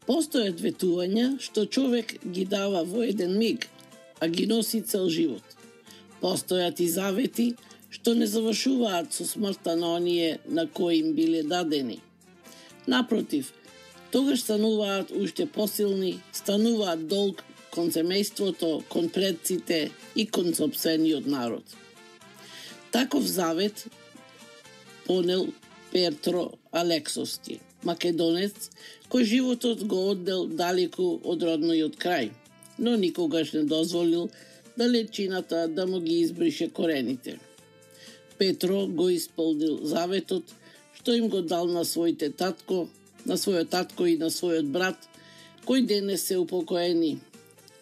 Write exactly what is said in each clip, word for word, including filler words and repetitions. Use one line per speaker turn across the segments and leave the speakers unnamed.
Постојат ветувања што човек ги дава во еден миг, а ги носи цел живот. Постојат и завети што не завршуваат со смртта на оние на кои им биле дадени. Напротив, тогаш стануваат уште посилни, стануваат долг кон семејството, кон предците и кон сопствениот народ. Таков завет понел Петро Алексовски, македонец, кој животот го оддел далеку од родниот крај, но никогаш не дозволил далечината да му ги избрише корените. Петро го исполнил заветот што им го дал на своите татко, на својот татко и на својот брат, кои денес се упокоени.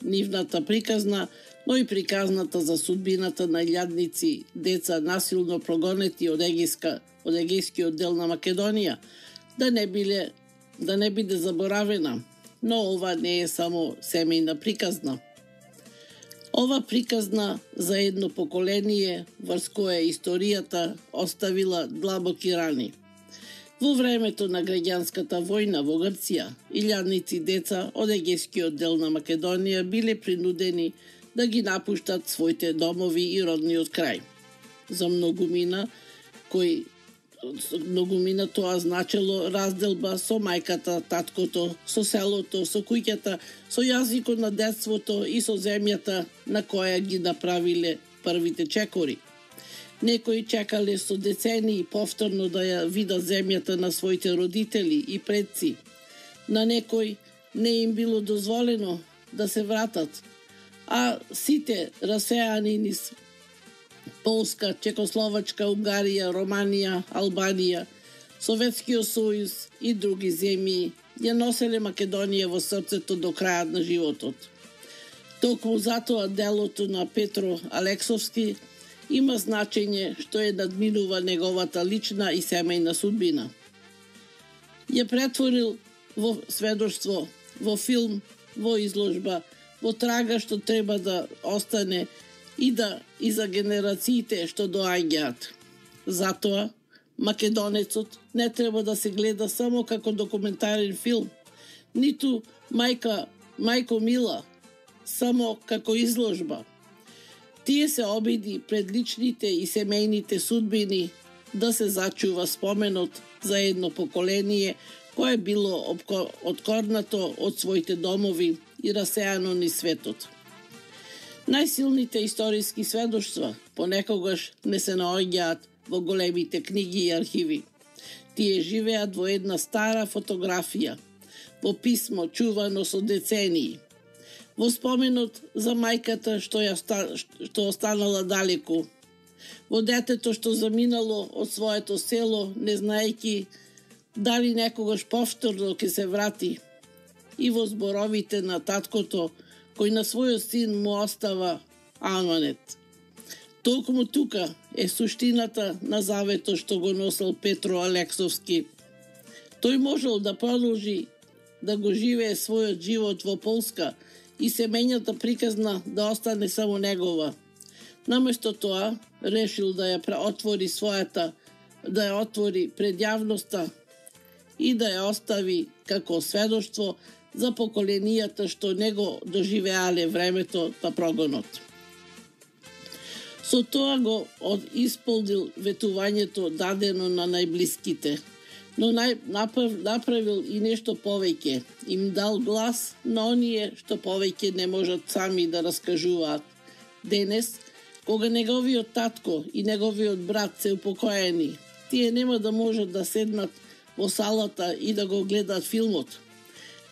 Нивната приказна, но и приказната за судбината на илјадници деца насилно прогонети од Егејска, од Егејскиот дел на Македонија, да не биле да не биде заборавена, но ова не е само семејна приказна. Ова приказна за едно поколение врз кое историјата оставила длабоки рани. Во времето на граѓанската војна во Грција, илјадници деца од Егејскиот дел на Македонија биле принудени да ги напуштат своите домови и родниот крај. За многумина, кој многумина тоа значело разделба со мајката, таткото, со селото, со куќата, со јазикот на детството и со земјата на која ги направиле првите чекори. Некои чекале со децении повторно да ја видат земјата на своите родители и предци. На некои не им било дозволено да се вратат, а сите расеани низ Полска, Чекословачка, Унгарија, Романија, Албанија, Советскиот сојуз и други земји ја носеле Македонија во срцето до крајот на животот. Токму затоа делото на Петро Алексовски има значење што е надминува неговата лична и семејна судбина. Ја претворил во сведоштво, во филм, во изложба, во трага што треба да остане и да и за генерациите што доаѓаат. Затоа, Македонецот не треба да се гледа само како документарен филм, ниту мајка, мајко Мила, само како изложба. Тие се обиди пред личните и семејните судбини да се зачува споменот за едно поколение кое било откорнато од своите домови и расеано низ светот. Најсилните историски сведоштва понекогаш не се наоѓаат во големите книги и архиви. Тие живеат во една стара фотографија, во писмо чувано со децении, во споменот за мајката што ја што останала далеку, во детето што заминало од своето село, не знаејќи дали некогаш повторно ќе се врати, и во зборовите на таткото кој на својот син му остава аманет. Толкому тука е суштината на заветот што го носел Петро Алексовски. Тој можел да продолжи да го живее својот живот во Полска и семејната приказна да остане само негова. Наместо тоа, решил да ја отвори својата, да ја отвори пред јавноста и да ја остави како сведоштво за поколенијата што него доживеале времето на прогонот. Со тоа го исполнил ветувањето дадено на најблиските, но нај, направ, направил и нешто повеќе. Им дал глас на оние што повеќе не можат сами да раскажуваат. Денес, кога неговиот татко и неговиот брат се упокоени, тие нема да можат да седнат во салата и да го гледат филмот.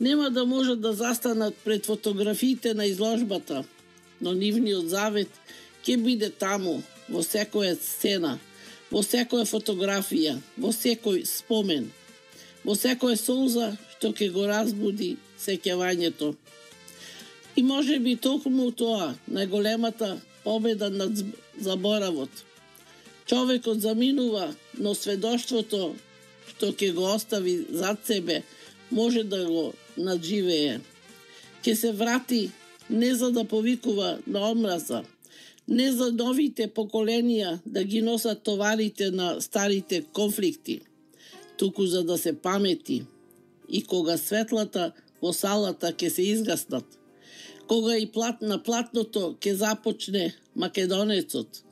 Нема да можат да застанат пред фотографиите на изложбата, но нивниот завет ќе биде таму, во секоја сцена, во секоја фотографија, во секој спомен, во секоја солза што ќе го разбуди сеќавањето. И може би токму тоа, најголемата победа над заборавот. Човекот заминува, но сведоштвото што ќе го остави зад себе може да го надживее. Ќе се врати не за да повикува на омраза, не за новите поколенија да ги носат товарите на старите конфликти, туку за да се памети и кога светлата во салата ќе се изгаснат. Кога и плат на платното ќе започне Македонецот,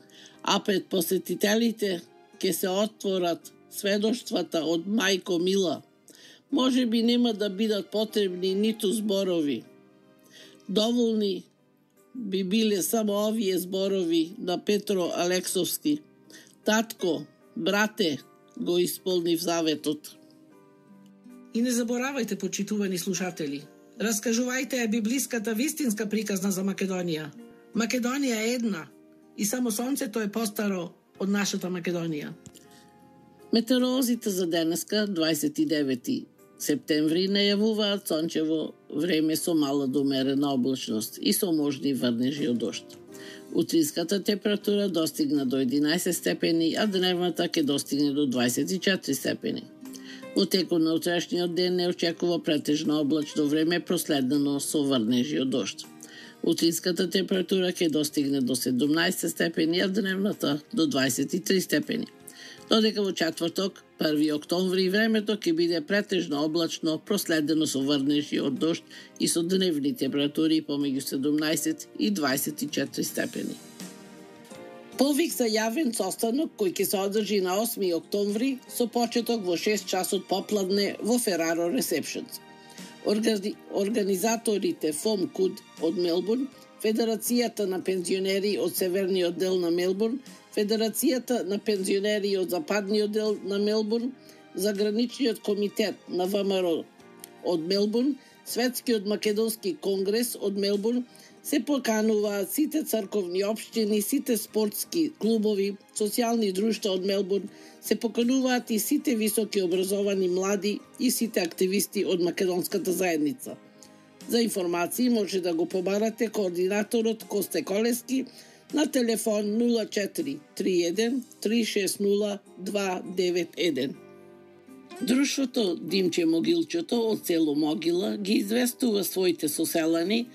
а пред посетителите ќе се отворат сведоштвата од Мајко Мила, може би нема да бидат потребни ниту зборови. Доволни би биле само овие зборови на Петро Алексовски. Татко, брате, го исполнив заветот.
И не заборавајте, почитувани слушатели, раскажувајте ја библиската вистинска приказна за Македонија. Македонија е една и само сонцето е постаро од нашата Македонија.
Метеоролозите за денеска, дваесет и девети септември, најавуваат сончево време со мала до умерена облачност и со можни врнежи од дожд. Утринската температура достигна до единаесет степени, а дневната ќе достигне до дваесет и четири степени. Во текот на утрешниот ден не очекува претежно облачно време проследено со врнежи од дожд. Утринската температура ќе достигне до седумнаесет степени, а дневната до дваесет и три степени. Додека во четврток, први октомври, времето ќе биде претежно облачно, проследено со врнежи од дожд и со дневни температури помеѓу седумнаесет и дваесет и четири степени. Повик за јавен состанок кој ќе се одржи на осми октомври со почеток во шест часот попладне во Фераро Ресепшенс. Органи... Организаторите ФОМ КУД од Мелбурн, Федерацијата на пензионери од северниот дел на Мелбурн, Федерацијата на пензионери од западниот дел на Мелбурн, Заграничниот комитет на ВМРО од Мелбурн, Светскиот македонски конгрес од Мелбурн, се покануваат сите црковни општини, сите спортски клубови, социјални друштва од Мелбурн, се покануваат и сите високи образовани млади и сите активисти од македонската заедница. За информации може да го побарате координаторот Косте Колески на телефон нула четири три еден три шест нула два девет еден. Друштвото Димче Могилчето од село Могила ги известува своите соселани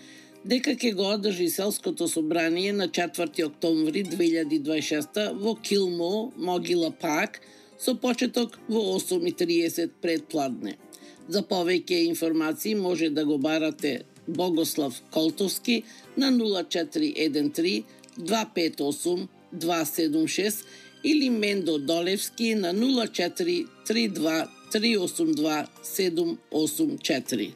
дека ќе го одржи селското собрание на четврти октомври две илјади дваесет и шеста во Килмо, Могила Парк, со почеток во осум и триесет предпладне. За повеќе информации може да го барате Богослав Колтовски на нула четири еден три два пет осум два седум шест или Мендо Долевски на нула четири три два три осум два седум осум четири.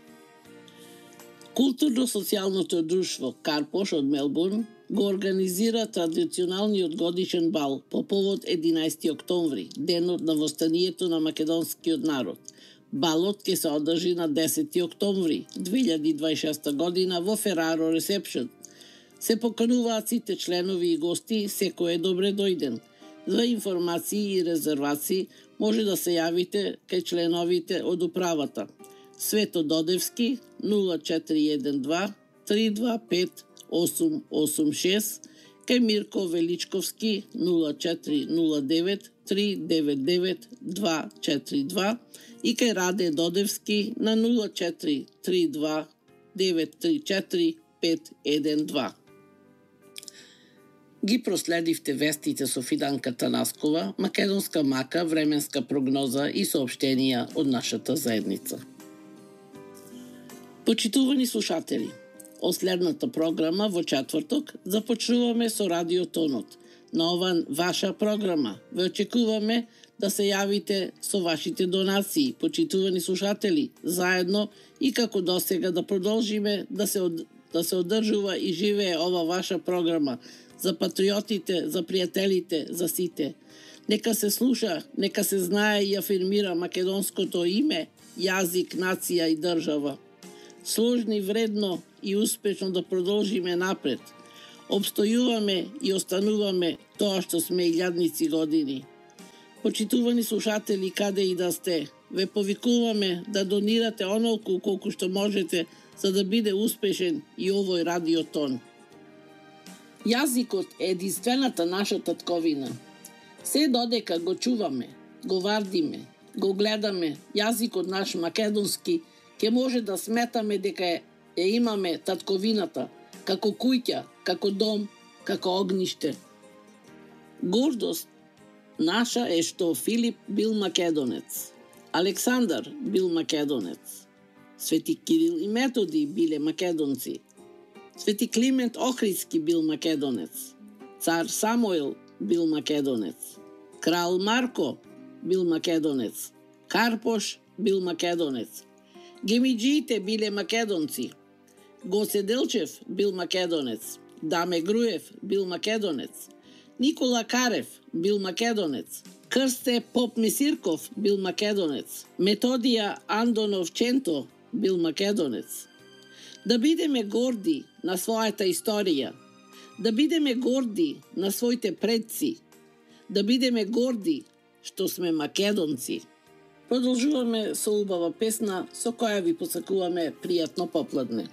Културно-социјалното друштво Карпош од Мелбурн го организира традиционалниот годишен бал по повод единаесети октомври, денот на востанието на македонскиот народ. Балот ќе се одржи на десети октомври две илјади дваесет и шеста година во Фераро Ресепшен. Се покануваат сите членови и гости, секој е добре дојден. За информации и резервации може да се јавите кај членовите од управата. Свето Додевски нула четири еден два три два пет осум осум шест, кај Мирко Величковски нула четири нула девет три девет девет два четири два и кај Раде Додевски на нула четири три два девет три четири пет еден два. Ги проследивте вестите со Фиданка Танаскова, македонска мака, временска прогноза и соопштенија од нашата заедница. Почитувани слушатели, од следната програма во четврток започнуваме со Радиотонот. На ова ваша програма ве очекуваме да се јавите со вашите донации, почитувани слушатели, заедно и како досега да продолжиме да се, од... да се одржува и живее ова ваша програма за патриотите, за пријателите, за сите. Нека се слуша, нека се знае и афирмира македонското име, јазик, нација и држава. Сложни, вредно и успешно да продолжиме напред. Обстојуваме и остануваме тоа што сме илјадници години. Почитувани слушатели, каде и да сте, ве повикуваме да донирате онолку колку што можете за да биде успешен и овој радиотон. Јазикот е единствената наша татковина. Се додека го чуваме, го вардиме, го гледаме, јазикот наш македонски, ќе може да сметаме дека е, е имаме татковината, како куќа, како дом, како огниште. Гордост наша е што Филип бил македонец, Александар бил македонец, Свети Кирил и Методи биле македонци. Свети Климент Охридски бил македонец. Цар Самуил бил македонец. Крал Марко бил македонец. Карпош бил македонец. Гемиджиите биле македонци. Гоце Делчев бил македонец. Даме Груев бил македонец. Никола Карев бил македонец. Крсте Поп Месирков бил македонец. Методија Андонов Ченто бил македонец. Да бидеме горди на својата историја. Да бидеме горди на своите предци. Да бидеме горди што сме македонци. Продолжуваме со убава песна со која ви посакуваме пријатно попладне.